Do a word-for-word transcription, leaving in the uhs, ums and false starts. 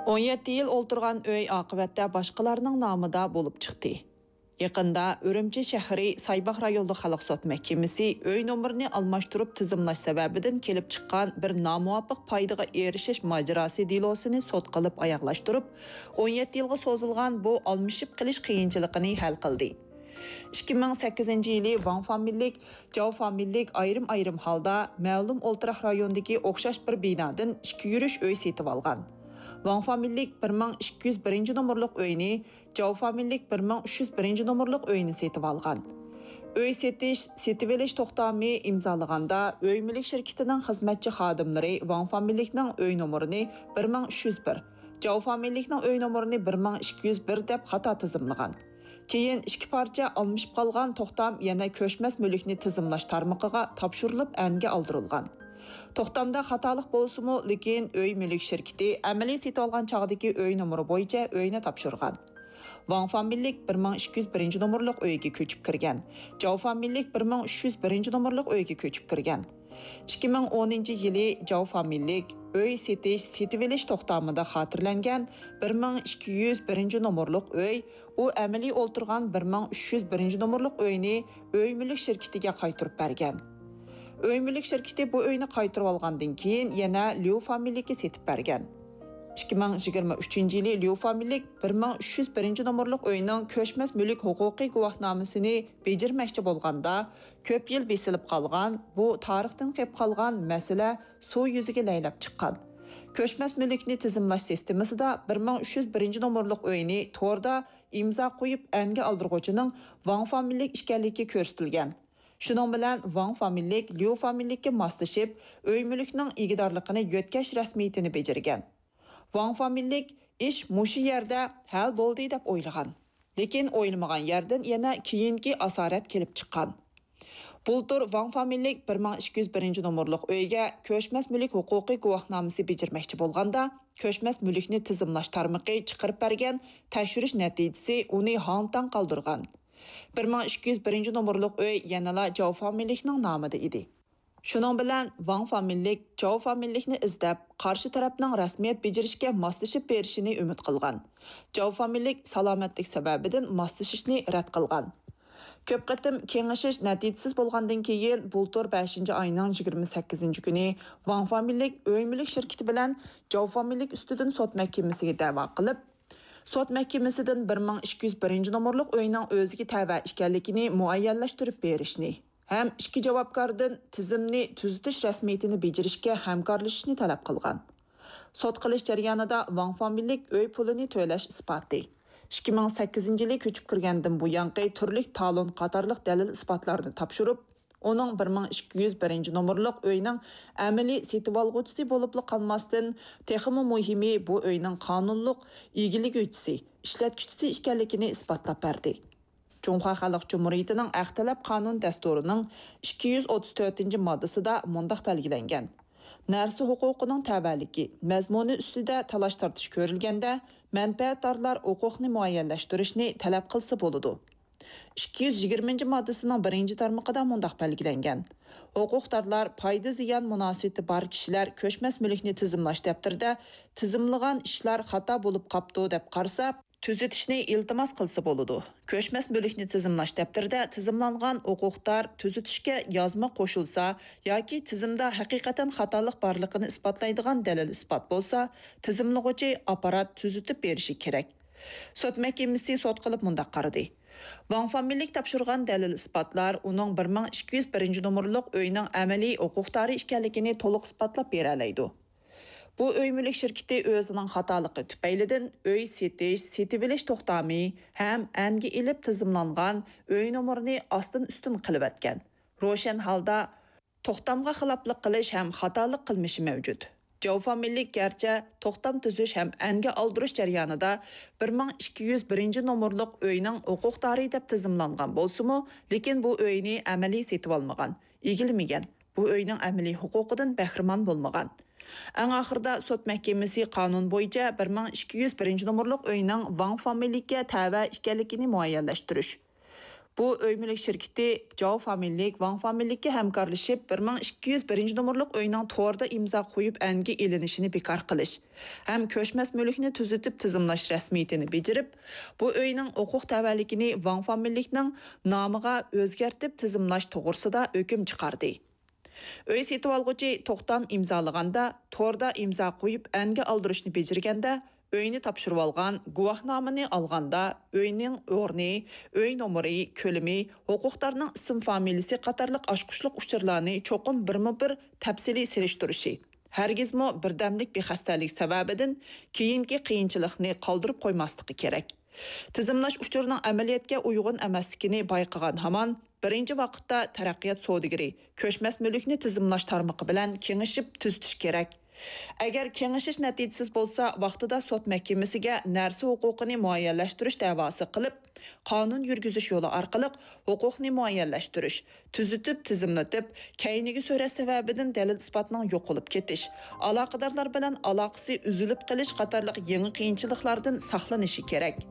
ئون يەتتە يىل ئولتۇرغان ئۆي ئاقىۋەتتە باشقىلارنىڭ نامىدا بولۇپ چىقتى. يېقىندا ئۈرۈمچى شەھىرى سايباغ رايونلۇق خەلق سوت مەھكىمىسى ئۆي نومۇرىنى ئالماشتۇرۇپ تىزىملاش سەۋەبىدىن كېلىپ چىققان بىر نامۇۋاپىق پايدىغا ئېرىشىش ماجىراسى دېلوسىنى سوت قىلىپ ئاياغلاشتۇرۇپ، ئون يەتتە يىلغا سوزۇلغان بۇ ئالمىشىپ قېلىش قىيىنچىلىقىنى ھەل قىلدى. ئىككى مىڭ سەككىزىنچى يىلى ۋاڭ فامىلىلىك، جاۋ فامىلىلىك ئايرىم-ئايرىم ھالدا مەلۇم ئولتۇراق رايونىدىكى ئوخشاش بىر بىنادىن ئىككى يۈرۈش ئۆي سېتىۋالغان. ۋاڭ فامىلىلىك بىر مىڭ ئىككى يۈز بىرىنچى نومۇرلۇق ئۆينى، جاۋ فامىلىلىك بىر مىڭ ئۈچ يۈز بىرىنچى نومۇرلۇق ئۆينى سېتىۋالغان. ئۆي سېتىش، سېتىۋېلىش توختامى ئىمزالىغاندا ئۆي مۈلۈك شىركىتىنىڭ خىزمەتچى خادىملىرى ۋاڭ فامىلىلىكنىڭ ئۆي نومۇرىنى بىر مىڭ ئۈچ يۈز بىر، جاۋ فامىلىلىكنىڭ ئۆي نومۇرىنى بىر مىڭ ئىككى يۈز بىر دەپ خاتا تىزىملىغان. كېيىن ئىككى پارچە ئالمىشىپ قالغان توختام يەنە كۆچمەس مۈلۈكنى تىزىملاش تارمىقىغا تاپشۇرۇلۇپ ئەنگە ئالدۇرۇلغان. توختامدا خاتالىق بولسىمۇ، لېكىن ئۆي مۈلۈك شىركىتى ئەمەلىي سېتىۋالغان چاغدىكى ئۆي نومۇرى بويىچە ئۆينى تاپشۇرغان. ۋاڭ فامىلىلىك بىر مىڭ ئىككى يۈز بىرىنچى نومۇرلۇق ئۆيگە كۆچۈپ كىرگەن. جاۋ فامىلىلىك بىر مىڭ ئۈچ يۈز بىرىنچى نومۇرلۇق ئۆيگە كۆچۈپ كىرگەن. ئىككى مىڭ ئونىنچى يىلى جاۋ فامىلىلىك ئۆي سېتىش، سېتىۋېلىش توختامىدا خاتىرىلەنگەن بىر مىڭ ئىككى يۈز بىرىنچى نومۇرلۇق ئۆي، ئۇ ئەمەلىي ئولتۇرغان بىر مىڭ ئۈچ يۈز بىرىنچى نومۇرلۇق ئۆينى ئۆي مۈلۈك شىركىتىگە قايتۇرۇپ بەرگەن. ئۆي مۈلۈك شىركىتى بۇ ئۆينى قايتۇرۇۋالغاندىن كېيىن يەنە ليۇ فامىلىلىككە سېتىپ بەرگەن. ئىككى مىڭ يىگىرمە ئۈچىنچى يىلى ليۇ فامىلىلىك بىر مىڭ ئۈچ يۈز بىرىنچى نومۇرلۇق ئۆينىڭ كۆچمەس مۈلۈك ھوقۇقى گۇۋاھنامىسىنى بېجىرمەكچى بولغاندا، كۆپ يىل بېسىلىپ قالغان، بۇ تارىختىن قېلىپ قالغان مەسىلە سۇ يۈزىگە لەيلەپ چىققان. كۆچمەس مۈلۈكنى تىزىملاش سىستېمىسىدا بىر مىڭ ئۈچ يۈز بىرىنچى نومۇرلۇق ئۆينى توردا ئىمزا قويۇپ ئەنگە ئالدۇرغۇچىنىڭ ۋاڭ فامىلىلىك ئىكەنلىكى كۆرسىتىلگەن. شۇنىڭ بىلەن ۋاڭ فامىلىلىك ليۇ فامىلىلىككە ماسلىشىپ، ئۆي مۈلۈكنىڭ ئىگىدارلىقىنى يۆتكەش رەسمىيىتىنى بېجىرگەن. ۋاڭ فامىلىلىك ئىش مۇشۇ يەردە ھەل بولدى دەپ ئويلىغان. لېكىن ئويلىمىغان يەردىن يەنە كېيىنكى ئاسارەت كېلىپ چىققان. بۇلتۇر ۋاڭ فامىلىلىك بىر مىڭ ئىككى يۈز بىرىنچى نومۇرلۇق ئۆيگە كۆچمەس مۈلۈك ھوقۇقى گۇۋاھنامىسى بېجىرمەكچى بولغاندا، كۆچمەس مۈلۈكنى تىزىملاش تارمىقى چىقىرىپ بەرگەن تەكشۈرۈش نەتىجىسى ئۇنى ھاڭ-تاڭ قالدۇرغان. بىر مىڭ ئىككى يۈز بىرىنچى نومۇرلۇق ئۆي يەنىلا جاۋ فامىلىلىكنىڭ نامىدا ئىدى. شۇنىڭ بىلەن ۋاڭ فامىلىلىك جاۋ فامىلىلىكنى ئىزدەپ، قارشى تەرەپنىڭ رەسمىيەت بېجىرىشكە ماسلىشىپ بېرىشىنى ئۈمىد قىلغان. جاۋ فامىلىلىك سالامەتلىك سەۋەبىدىن ماسلىشىشنى رەت قىلغان. كۆپ قېتىم كېڭىشىش نەتىجىسىز بولغاندىن كېيىن، بۇلتۇر بەشىنچى ئاينىڭ يىگىرمە سەككىزىنچى كۈنى ۋاڭ فامىلىلىك ئۆي مۈلۈك شىركىتى بىلەن جاۋ فامىلىلىك ئۈستىدىن سوت مەھكىمىسىگە دەۋا قىلىپ، سوت مەھكىمىسىدىن بىر مىڭ ئىككى يۈز بىرىنچى نومۇرلۇق ئۆينىڭ ئۆزىگە تەۋە ئىكەنلىكىنى مۇئەييەنلەشتۈرۈپ بېرىشنى ھەم ئىككى جاۋابكاردىن تىزىمنى تۈزىتىش رەسمىيىتىنى بېجىرىشكە ھەمكارلىشىشنى تەلەپ قىلغان. سوت قىلىش جەريانىدا ۋاڭ فامىلىلىك ئۆي پۇلىنى تۆلەش ئىسپاتى، ئىككى مىڭ سەككىزىنچى يىلى كۆچۈپ كىرگەندىن بۇيانقى تۈرلۈك تالون قاتارلىق دەلىل ئىسپاتلارنى تاپشۇرۇپ، ئۇنىڭ بىر مىڭ ئىككى يۈز بىرىنچى نومۇرلۇق ئۆينىڭ ئەمەلىي سېتىۋالغۇچىسى بولۇپلا قالماستىن، تېخىمۇ مۇھىمى، بۇ ئۆينىڭ قانۇنلۇق ئىگىلىگۈچىسى، ئىشلەتكۈچىسى ئىكەنلىكىنى ئىسپاتلاپ بەردى. جۇڭخۇا خەلق جۇمھۇرىيىتىنىڭ ھەق تەلەپ قانۇن دەستۇرىنىڭ ئىككى يۈز ئوتتۇز تۆتىنچى ماددىسىدا مۇنداق بەلگىلەنگەن: نەرسە ھوقۇقىنىڭ تەۋەلىكى، مەزمۇنى ئۈستىدە تالاش-تارتىش كۆرۈلگەندە، مەنپەئەتدارلار ھوقۇقنى مۇئەييەنلەشتۈرۈشنى تەلەپ قىلسا بولىدۇ. ئىككى يۈز يىگىرمىنچى ماددىسىنىڭ بىرىنچى تارمىقىدا مۇنداق بەلگىلەنگەن: ھوقۇقدارلار پايدا زىيان مۇناسىۋىتى بار كىشىلەر كۆچمەس مۈلۈكنى تىزىملاش دەپتىرىدە تىزىملىغان ئىشلار خاتا بولۇپ قاپتۇ دەپ قارىسا، تۈزىتىشنى ئىلتىماس قىلسا بولىدۇ. كۆچمەس مۈلۈكنى تىزىملاش دەپتىرىدە تىزىملانغان ھوقۇقدار تۈزىتىشكە يازما قوشۇلسا ياكى تىزىمدا ھەقىقەتەن خاتالىق بارلىقىنى ئىسپاتلايدىغان دەلىل-ئىسپات بولسا، تىزىملىغۇچى ئاپپارات تۈزىتىپ بېرىشى كېرەك. سوت مەھكىمىسى سوت قىلىپ مۇنداق قارىدى: ۋاڭ فامىلىلىك تاپشۇرغان دەلىل-ئىسپاتلار ئۇنىڭ بىر مىڭ ئىككى يۈز بىرىنچى نومۇرلۇق ئۆينىڭ ئەمەلىي ھوقۇقدارى ئىكەنلىكىنى تولۇق ئىسپاتلاپ بېرەلەيدۇ. بۇ ئۆي مۈلۈك شىركىتى ئۆزىنىڭ خاتالىقى تۈپەيلىدىن ئۆي سېتىش، سېتىۋېلىش توختامى ھەم ئەنگە ئېلىپ تىزىملانغان ئۆي نومۇرىنى ئاستىن-ئۈستۈن قىلىۋەتكەن. روشەن ھالدا توختامغا خىلاپلىق قىلىش ھەم خاتالىق قىلمىشى مەۋجۇت. جاۋ فامىلىلىك گەرچە توختام تۈزۈش ھەم ئەنگە ئالدۇرۇش جەريانىدا بىر مىڭ ئىككى يۈز بىرىنچى نومۇرلۇق ئۆينىڭ ھوقۇقدارى دەپ تىزىملانغان بولسىمۇ، لېكىن بۇ ئۆينى ئەمەلىي سېتىۋالمىغان، ئىگىلىمىگەن، بۇ ئۆينىڭ ئەمەلىي ھوقۇقىدىن بەھرىمەن بولمىغان. ئەڭ ئاخىرىدا سوت مەھكىمىسى قانۇن بويىچە بىر مىڭ ئىككى يۈز بىرىنچى نومۇرلۇق ئۆينىڭ ۋاڭ فامىلىلىككە تەۋە ئىكەنلىكىنى مۇئەييەنلەشتۈرۈش، بۇ ئۆي مۈلۈك شىركىتى جاۋ فامىلىلىك ۋاڭ فامىلىلىككە ھەمكارلىشىپ، بىر مىڭ ئىككى يۈز بىرىنچى نومۇرلۇق ئۆينىڭ توردا ئىمزا قويۇپ ئەنگە ئېلىنىشىنى بىكار قىلىش ھەم كۆچمەس مۈلۈكنى تۈزىتىپ تىزىملاش رەسمىيىتىنى بېجىرىپ، بۇ ئۆينىڭ ھوقۇق تەۋەلىكىنى ۋاڭ فامىلىلىكنىڭ نامىغا ئۆزگەرتىپ تىزىملاش توغرىسىدا ھۆكۈم چىقاردى. ئۆي سېتىۋالغۇچى توختام ئىمزالىغاندا، توردا ئىمزا قويۇپ ئەنگە ئالدۇرۇشنى بېجىرگەندە، ئۆينى تاپشۇرۇۋالغان، گۇۋاھنامىنى ئالغاندا، ئۆينىڭ ئورنى، ئۆي نومۇرى، كۆلىمى، ھوقۇقدارنىڭ ئىسىم فامىلىسى قاتارلىق ئاچقۇچلۇق ئۇچۇرلارنى چوقۇم بىرمۇ بىر تەپسىلىي سېلىشتۇرۇشى، ھەرگىزمۇ بىردەملىك بىخەستەلىك سەۋەبىدىن كېيىنكى قىيىنچىلىقنى قالدۇرۇپ قويماسلىقى كېرەك. تىزىملاش ئۇچۇرىنىڭ ئەمەلىيەتكە ئۇيغۇن ئەمەسلىكىنى بايقىغان ھامان، بىرىنچى ۋاقىتتا تەرەققىيات سودىگىرى كۆچمەس مۈلۈكنى تىزىملاش تارمىقى بىلەن كېڭىشىپ تۈزىتىش كېرەك. ئەگەر كېڭىشىش نەتىجىسىز بولسا، ۋاقتىدا سوت مەھكىمىسىگە نەرسە ھوقۇقىنى مۇئەييەنلەشتۈرۈش دەۋاسى قىلىپ، قانۇن يۈرگۈزۈش يولى ئارقىلىق ھوقۇقنى مۇئەييەنلەشتۈرۈش، تۈزىتىپ، تىزىملىتىپ، كەينىگە سۆرەش سەۋەبىدىن دەلىل-ئىسپاتنىڭ يوقىلىپ كېتىش، ئالاقىدارلار بىلەن ئالاقىسى ئۈزۈلۈپ قېلىش قاتارلىق يېڭى قىيىنچىلىقلاردىن ساقلىنىشى كېرەك.